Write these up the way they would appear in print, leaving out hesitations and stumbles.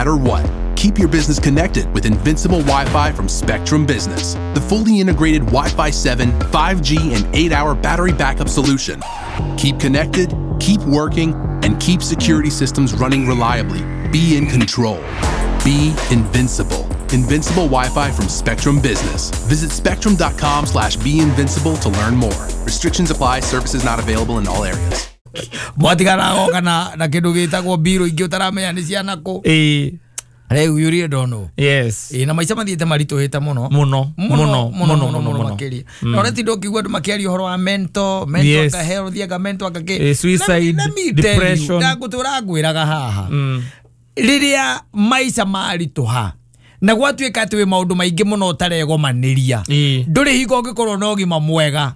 matter what. Keep your business connected with Invincible Wi-Fi from Spectrum Business, the fully integrated Wi-Fi 7, 5G, and 8-hour battery backup solution. Keep connected, keep working, and keep security systems running reliably. Be in control. Be invincible. Invincible Wi-Fi from Spectrum Business. Visit spectrum.com/beinvincible to learn more. Restrictions apply. Services not available in all areas. Mwatigara na na kindu gitagwo biro ingi utaramenya ni ciana ku. Rĩu you really don't know. Yes. Na maica mathiĩte maritũhĩte mũno. Mũno mũno mũno mũno makĩria. Na ũrĩa tinda ũkĩigua andũ makĩaria ũhoro wa mental health, anga mental anga kĩ. Suicide, depression. Ndagũtũra ngwĩraga haha. Rĩrĩa maica maritũha na gwatuĩka atĩ wĩ maũndũ maingĩ mũno ũtaregomanĩria, ndũrĩ hingo ũngĩkorwo na ũgima mwega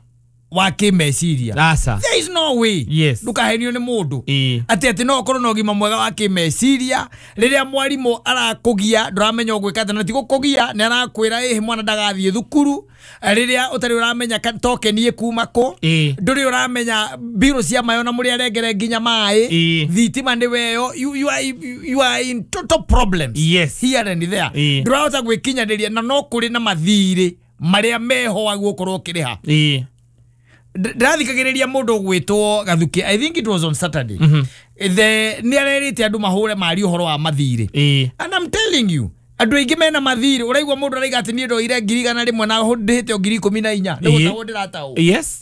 wa kĩmeciria. There is no way. Yes. Ndukahenio nĩ mũndũ atĩ atĩ no ũkorwo na ũgima mwega wa kĩmeciria rĩrĩa mwarimũ arakũgia ndũramenya ũgwĩka atĩa, na ti gũkũgia nĩ arakwĩra ĩhĩ mwana ndagathiĩ thukuru, rĩrĩa ũtarĩ ũramenya token ĩkuma kũ, ndũrĩ ũramenya mbirũ cia maĩ ona mũrĩ arengere nginya maĩ, thitima nĩ weyo, you are in total problems. Yes. Here and there. Ndũrahota gwĩkinyanĩria na no kũrĩ na mathirĩ marĩa meho wa gũkorwo ũkĩrĩha. Ndirathikagĩrĩria mũndũ ũgwĩtwo Gathuki, I think it was on Saturday. The nĩ arerĩte andũ mahũre mari ũhoro wa mathirĩ. And I'm telling you, andũ aingĩ mena mathirĩ, ũraigua mũndũ araiga atĩ niĩ ndoire 100,000 na ndĩhĩte o 14,000. Nĩ gũtahwo ndĩratahwo. Yes.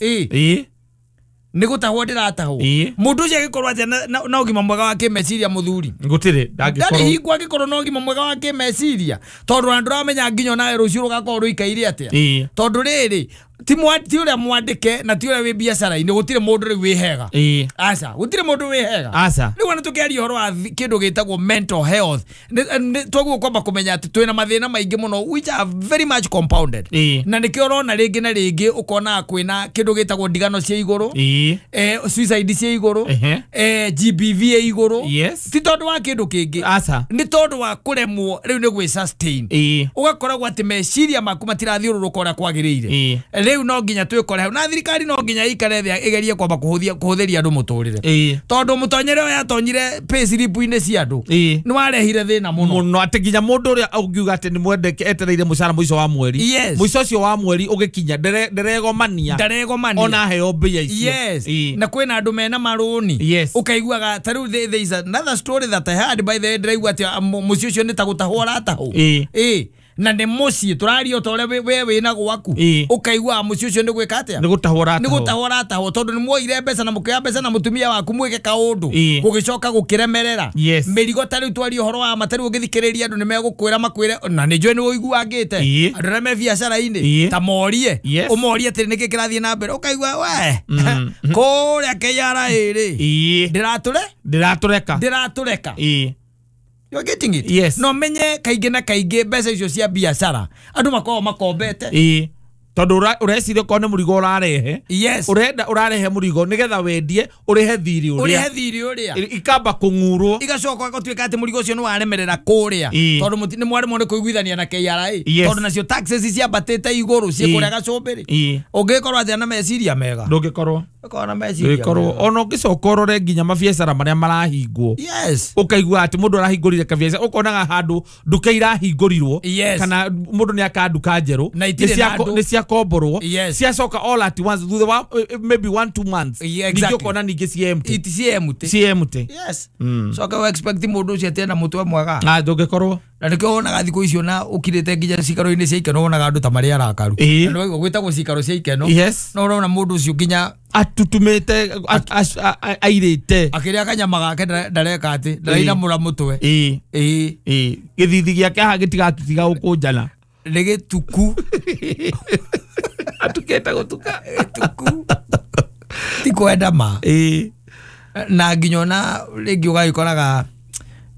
Nĩ gũtahwo ndĩratahwo. Mũndũ ũcio agĩkorwo atĩa na ũgima mwega wa kĩmeciria mũthuri? Gũtirĩ, ndangĩkorwo. Ndarĩ hingo angĩkorwo na ũgima mwega wa kĩmeciria, tondũ ona ndũramenya nginya onawe rũciũ rũgakorwo rũikaire atĩa. Tondũ rĩrĩ ti ũrĩa mwandĩke na ti ũrĩa wĩ biacara-inĩ, gũtirĩ mũndũ rĩu wĩ hega. Aca, gũtirĩ mũndũ wĩ hega. Aca. Rĩu ona tũkĩaria ũhoro wa kĩndũ gĩtagwo mental health, twaguo kwamba kũmenya atĩ twĩna mathĩna maingĩ mũno which are very much compounded. Na nĩkĩo ũrona rĩngĩ na rĩngĩ ũkona kwĩna kĩndũ gĩtagwo ndigano cia igũrũ, suicide cia igũrũ, GBV ya igũrũ. Yes. Ti tondũ wa kĩndũ kĩngĩ. Aca. Nĩ tondũ wa kũremwo rĩu nĩ gwĩ sustain. Ũgakoragwo atĩ meciria maku matirathiũrũrũka ũrĩa kwagĩrĩire. Rĩu no nginya twĩkore hau na thirikari no nginya ikare thĩ ĩgerie kwamba kũhũthĩria andũ mũtũrĩre, tondũ mũtonyere ũyũ atonyire pay slip-inĩ cia andũ nĩ warehire thĩna mũno mũno, atĩ nginya mũndũ ũrĩa ũngiuga atĩ nĩ mwendeke etereire mũcara mũico wa mweri. Yes. Mũico ũcio wa mweri ũgĩkinya nderegomania ona heo mbia icio. Yes. Na kwĩna andũ mena marũni. Yes. Ũkaiguaga ta rĩu there is another story that I heard by the way, ndĩraigua atĩ mũciĩ ũcio nĩ ta gũtahwo aratahwo. Na nĩ mũciĩ tũraria ta ũrĩa we wĩna gwaku, ũkaigua mũciĩ ũcio nĩ gwĩka atĩa, nĩ gũtahwo aratahwo, tondũ nĩ muoire mbeca na mũkĩoya mbeca na mũtumia waku mwĩke kaũndũ gũgĩcoka gũkĩremerera. Mĩrigo ta rĩu twaria ũhoro wa ma, ta rĩu ũgĩthikĩrĩria andũ nĩ megũkwĩra makwĩre, na nĩ njũĩ nĩ ũiguangĩte andũ arĩa me biacara-inĩ ta morie ũmorie atĩrĩ nĩkĩ kĩrathiĩ na mbere, ũkaigua we kũrĩa KRA rĩ ndĩratũreka. You are getting it? Yes. No menye kaingĩ na kaingĩ mbeca icio cia biacara andũ makoragwo makombete. Tondũ ũreciria okorwo nĩ mũrigo ũrarehe. Yes. Ũrenda ũrarehe mũrigo nĩgetha wendie ũrĩhe thirĩ ũrĩa. Ikamba kũng'urwo. Igacoka gũtuĩka atĩ mũrigo ũcio nĩ waremerera kũrĩa. Tondũ nĩ mwaremwo nĩ kũiguithania na KRA. Tondũ nacio taxes ciambatĩte igũrũ ciĩ kũrĩa gacũmbĩrĩ. Ũngĩkorwo atĩa na meciria mega? Ndũngĩkorwo. Ũkorwo na meciria mega. Ona ũngĩcoka ũrore nginya mabiacara marĩa marahingwo. Yes. Ũkaigua atĩ mũndũ arahingũrire kabiacara, ũkonaga handũ nduka irahingũrirwo kana mũndũ nĩ aka nduka njerũ nĩ ciakomborwo, ciacoka all at once thutha wa maybe 1-2 months. Ningĩ ũkona ningĩ ciĩ empty. Ciĩ empty. Yes. Coka we expect mũndũ ũcio atĩ ena mũtwe mwega. Ndũngĩkorwo. Na nĩkĩo wonaga thikũ icio na ũkirĩte nginya cikaro-inĩ cia ikeno wonaga andũ ta marĩ arakaru. Na nĩwaigua gwĩtagwo cikaro cia ikeno. Yes. No ũrona mũndũ ũcio nginya atutumĩte airĩte akĩrĩa kanyama gake ndareka atĩ ndarainamũra mũtwe. Gĩthithi gĩake haha gĩtigatiga gũkũnjana. Nĩ gĩtuku. Atukĩte gũtuka. Gĩtuku. Ti kwenda ma. Na nginya ona rĩngĩ ũgagĩkoraga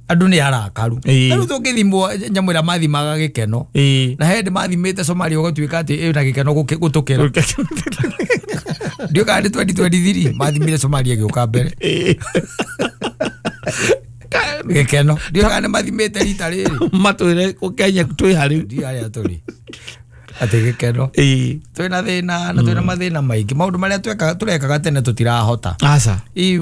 andũ nĩ arakaru. Rĩu tũngĩthimwo nyamũ ĩrĩa mathimaga gĩkeno. Na he hĩndĩ mathimĩte Somalia ũgatuĩka atĩ ĩna gĩkeno gũtũkĩra. Ndiũĩ kana nĩ 2023 mathimire Somalia ĩgĩũka mbere. Gĩkeno. Ndiũĩ kana nĩ mathimĩte rita rĩrĩ. Matwĩre Kenya twĩ harĩ. Ndiũĩ harĩa tũrĩ. Atĩ gĩkeno. Twĩna thĩna na twĩna mathĩna maingĩ. Maũndũ marĩa tũrekaga tene tũtirahota. Aca.